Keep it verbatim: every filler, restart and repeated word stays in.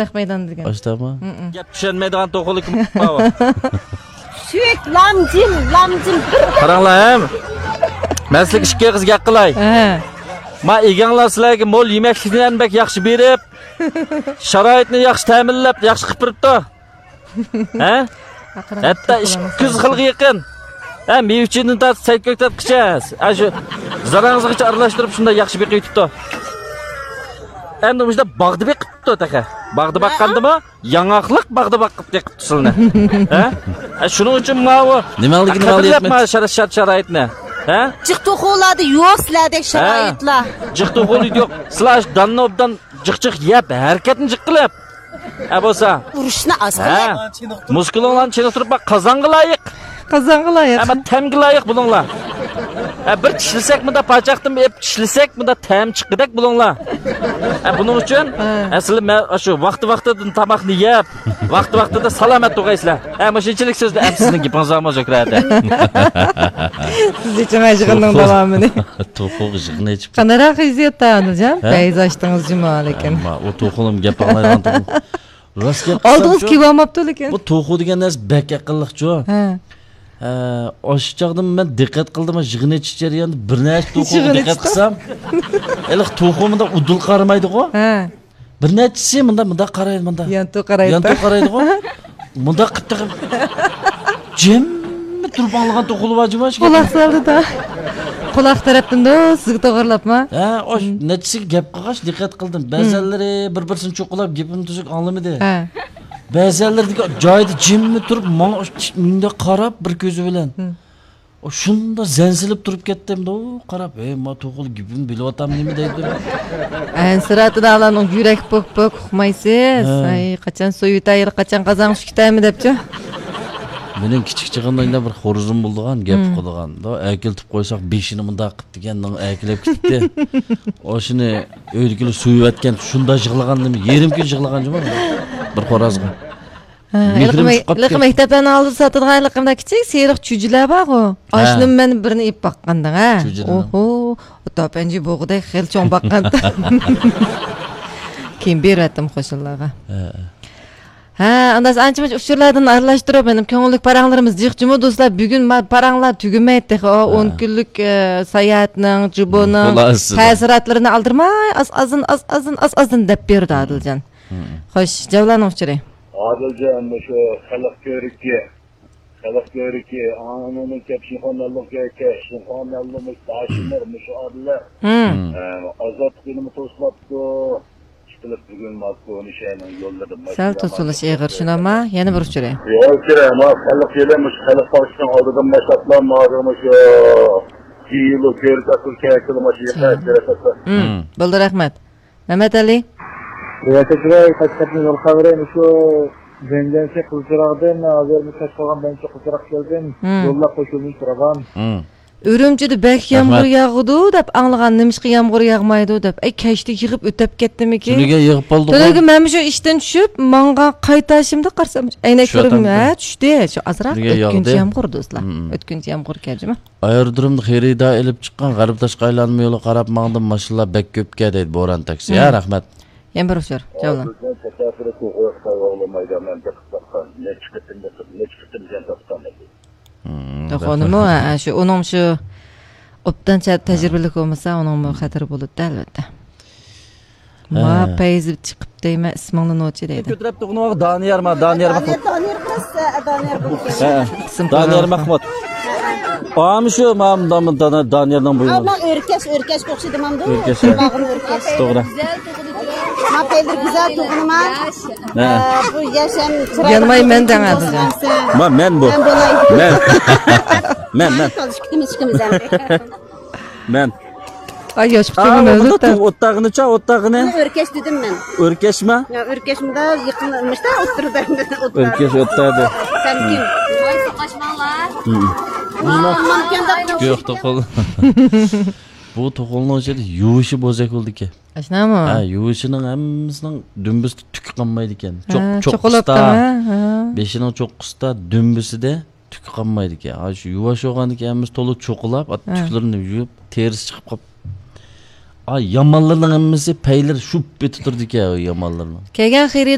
نەق مەيدان دېگەن. ئاشتاما؟ مم. گەپ چۈشەنمەيدىغان توخۇلۇق بار. سۈيۈك لامجىم، لامجىم. قاراڭلار، ھەم. مەن سىلىگە ئىككى ئېغىز گەپ قىلاي. ھە. ما ئىگەڭلار سىلەرگە مول يېمەكلىكلەرنى بەك ياخشى بېرىپ، شارائىتنى ياخشى تەمىنلەپ، ياخشى قىلىپ بېرىپتۇ. ھە؟ ھەتتا ئىككى يۈز خىلغا يېقىن. ھە، مېۋە-چېۋىدىن تارتىپ سەي-كۆكتات قىچە. ھە، شۇ زاراڭزىغىچە ئارىلاشتۇرۇپ شۇنداق ياخشى بېقىۋېتىپتۇ. ئەمدى مۇشۇنداق باغدا بېقىپتۇ تېخى. باغدا باققاندىمۇ؟ ياڭاقلىق باغدا باقىپ بېقىپتۇ سىلىنى. ھە؟ ھە، شۇنىڭ ئۈچۈن ماۋۇ نېمەڭلىكىنى قەدىرلەپ ماۋۇ شەرت-، شەرت-شارائىتنى. ھە؟ جىق توخۇلاردا يوق سىلەردەك شارائىتلار. جىق توخۇلار يوق. سىلەر داننى ئوبدان جىق-جىق يەپ، ھەرىكەتنى جىق قىلىپ. ھە بولسا. ئۇرۇشنى ئاز قىلىپ. ھە. مۇسكۇلۇڭلارنى چېنىقتۇرۇپ باق، قازانغا لايىق. قازانغا لايىق. ئەمما تەمگە لايىق بولۇڭلار. ھە، بىر چىشلىسەك مۇندا پاچاقتىن ئېپ چىشلىسەك مۇندا تەم چىققۇدەك بولۇڭلار. ھە، بۇنىڭ ئۈچۈن ھە. ئەسلى مەن شۇ ۋاقتى ۋاقتىدىن تاماقنى يەپ، ۋاقتى ۋاقتىدا سالامەت تۇرغايسىلەر. ھە، مۇشۇنچىلىك سۆزنى ئەپ سىزنىڭ گېپىڭىز بارمۇ شۆھرەت؟ سىز ئېچىڭ يىغىننىڭ توخۇ. داۋامىنى. توخۇغا يىغىن ئېچىپ. قانداقراق ھېسسىياتتا ئادىلجان؟ ھە؟ پەيز ئاچتىڭىز جۇمۇ لېكىن. ئەمما ئۇ توخۇنىڭ گەپ ئاڭلايدىغان توخۇ. راست گەپ ئالدىڭىز قىلسام شۇ، كېلىۋالماپتۇ لېكىن. بۇ توخۇ دېگەن نەرسە بەك ئەقىللىقچۇ. ھە. ھە، ئاشۇ چاغدىمۇ مەن دىققەت قىلدىم، يىغىن ئېچىش جەريانىدا بىر نەچچە توخۇغا يىغىن دىققەت ئېچىشقا؟ قىلسام، ھېلىقى توخۇ مۇنداق ئۇدۇل قارىمايدىغۇ. ھە. بىر نەچچىسى مۇنداق، مۇنداق قارايدۇ، مۇنداق. يانتۇ قارايدۇ. يانتۇ قارايدىغۇ. مۇنداق قىپتىغىم. جىممىپ تۇرۇپ ئاڭلىغان توخۇلار بار جۇما شۇ. قۇلاق سالدى دا. قۇلاق تەرەپتىن دو سىزگە توغرىلاپما؟ ھە، ئاش مم. نەچچىسىگە گەپ قىلغاچ دىققەت قىلدىم. مم. بەزەنلىرى بىر-بىرسىنى چوقۇلاپ گېپىمنى تۈزۈك ئاڭلىمىدى. ھە. بەزەنلىرىدىكى جايىدا جىممە تۇرۇپ ماڭا مۇنداق قاراپ بىر كۆزى بىلەن. مم. ئۇ شۇنداق زەن سېلىپ تۇرۇپ كەتتىم دو قاراپ، ھەي، ما توخۇلۇق گېپىمنى بىلىۋاتامدىمۇ دەيدۇ. ئەنسىرەتىدە ئۇلارنىڭ يۈرەك پوك-پوك ئۇقمايسىز. ھە. ئاي، قاچان سويۇۋېتەي، قاچان قازان چۈشۈپ كېتەيمۇ دەپچۇ. مېنىڭ كىچىك چېغىمدا يەنە بىر خورزۇم بولىدىغان، گەپ مم. قىلىدىغان. دو ئەكېلىپ قويساق بېشىنى مۇنداق قىپتىكەن، نېڭ ئەكېلىپ كېتىپتۇ. ئاشۇنى ئۆيدىكىلەر سويۇۋەتكەن، شۇنداق يىغلىغاندىم، يېرىم كۈن يىغلىغان جۇما بىر خورازغا. ھە، مېھرىم ھېلىقى مەي-، چىقىپ قاپتۇ. ھېلىقى مەكتەپلەرنىڭ ئالدىدا ساتىدىغان ھېلىقى مۇنداق كىچىك سېرىق چۈجىلەر بارغۇ. ھە. ئاشۇنىمۇ مەن بىرنى ئېلىپ باققانىدىڭ، ھە؟ چۈجىنىڭ. ئوھو، ئۇ تاپەنجى بوغىدەك خېلى چوڭ باققان. كېيىن بېرىۋەتتىم قوشنىلارغا. ھە. ھە، ئانداق ئانچە-مۇنچە ئۇچۇرلاردىن ئارىلاشتۇرۇپ، مېنىڭ كۆڭۈللۈك پاراڭلىرىمىز جىق جۇمۇ دوستلار. بۈگۈن ما-، پاراڭلار تۈگىمەيدۇ تېخى. ئۇ ھە. ئون كۈنلۈك، ئە، ساياھەتنىڭ، جۇبونىڭ خۇلاسىسىدا. تەسىراتلىرىنى ئالدىرىماي ئاز-ئازدىن، ئاز-ئازدىن، ئاز-ئازدىن دەپ بېرىدۇ ئادىلجان. مم. خوش، جاۋلارنىڭ ئۇچۇرى. ئادىلجان، مۇشۇ خەلق كۆركى، خەلق كۆركى، ئۇنىڭدىن كېيىن شىنخۇا مەنلۇ كۆركى، شىنخۇا مەنلۇ مۇشۇ داشىملار، مۇشۇ ئادىللار. مم. ئە، ئازادلىق يېنىمۇ توسۇلۇپتۇ. ئىشقىلىپ بۈگۈن ماكونى شەھىرىنىڭ يوللىرىدا سەل توسۇلۇش ئېغىر، شۇنداقما؟ يەنە بىر ئۇچۇرى. يوق، كىرە، ما خەلق يېلى مۇشۇ خەلق باغچىسىنىڭ ئالدىدا ماشاتلا ماغىمۇ شۇ دېيىلۇ كۆركە ئەسلى كەكىلى ماشۇ يېقىن. مم. بولدى، رەھمەت. مەمەت ئەلى. رىياسەت ئاكا، قاچقاچنىڭ يول خەۋىرى مۇشۇ جەڭگەنسى قىزچىراغدىن، ھازىر مۇشۇ قالغان بەنچە قىزچىراغ كەلدىم. مم. يوللار قوشۇلمىش تۇرغان. مم. ئۈرۈمچىدە بەك يامغۇر رەھمەت. ياغىدۇ دەپ ئاڭلىغان، نېمىشقا يامغۇر ياغمايدۇ دەپ. ئەي، كەچتە يىغىپ ئۆتەپ كەتتىمىكىن؟ تۈنۈگۈن يىغىپ بولدىغۇ. تۈنۈگۈن مەنمۇ شۇ ئىشتىن چۈشۈپ، ماڭغان قايتاشىمدا قارىسام، ئەينەكلىرىم، چۈشۈۋاتامدۇ؟ ھە، چۈشتى. شۇ ئازراق تۈنۈگۈن ئۆتكۈنچى ياغدى. يامغۇر دوستلار. مم. ئۆتكۈنچى يامغۇر كەلدىمۇ؟ ئايرودرومدا خېرىدار ئېلىپ چىققان غەربىي تاشقى ئايلانما يولىغا قاراپ ماڭدىم، ماشىنىلار بەك كۆپكەن دەيدۇ، بوران تاكسى. ھە، مم. رەھمەت. يەنە بىر ئۇچۇر، جاۋلان. بىزنىڭ تەسەپپۇرى توغرا خىتاي ئوغلىمايدۇ، مەن بېقىپ باققان. نەچچە قېتىم بېقىپ، نەچچە قېتىم جان تاپقان ئىدى. مم، توخۇنىمۇ، ھە، شۇ، ئۇنىڭ شۇ ئوبدان چە-، ھە. تەجرىبىلىك بولمىسا، ئۇنىڭمۇ خەتىرى بولىدۇ، ئەلۋەتتە. ھە. ما پەيزى چىقىپ دەيمەن، ئىسمىڭنى نوچى دەيدۇ. كۆتۈرۈپ تۇغۇنۇۋالغان دانىيار ما، دانىيار ماخمۇت. دانىيار، دانىيار قىلىسىز، دانىيار بولۇش كېرەك. ھە. ئىسىم دانىيار قويۇۋالغان. ماخمۇت. ئامۇ شۇ، ما، ما، ما، دانىيارنىڭ بۇيرۇقى. ئا، ما ئۆركەش، ئۆركەشكە ئوخشىدى ماندۇ. ئۆركەش، ھە. باغرىم ئۆركەش. توغرا. ما پەيلىرى گۈزەل تۇغۇنما. ھە. ئە، بۇ ياشام چىرايلىق. يانماي مەن دەڭ ھازىر. ما مەن بۇ. مەن بولاي. مەن. مەن، مەن. قالدى، ئىككىمىز، ئىككىمىز ئەمدى. مەن. ئاي، ياش ئا، قىزىم ئۇنى مەۋلۇت دە. ئوتتاغىنىچە، ئوتتاغىنى. ئۆركەش دېدىم مەن. ئۆركەشما؟ يا، ئۆركەش مۇندا يېقىن، مۇشتا ئوتتۇرىدا. ئۆركەش ئوتتادا. سەن كىم؟ ۋاي، ساقاشماڭلار. ھە. ماما كەندەك. يوق، توقۇل. بۇ توقۇلنىڭ ئىچىدە يۇۋۇشى بوزەك بولىدىكەن. ئاشۇنداقمۇ؟ ھە، يۇۋۇشىنىڭ ھەممىسىنىڭ دۈمبىسىدە تۈكى قالمايدىكەن. ھە، چوق-، چوققىسىدا، چوقۇلاپتىمۇ؟ ھە. بېشىنىڭ چوققىسىدا، دۈمبىسىدە تۈكى قالمايدىكەن. ھە، شۇ يۇۋاش بولغاندىكىن ھەممىسى تولا چوقۇلاپ، ھە. تۈكلىرىنى يۇيۇپ، تېرىسى چىقىپ قاپ-، ئا، يامانلىرىنىڭ ھەممىسى پەيلىرى شۇپ ئېتىپ تۇرىدىكەن، يامانلىرىنىڭ. كەلگەن خېرىدار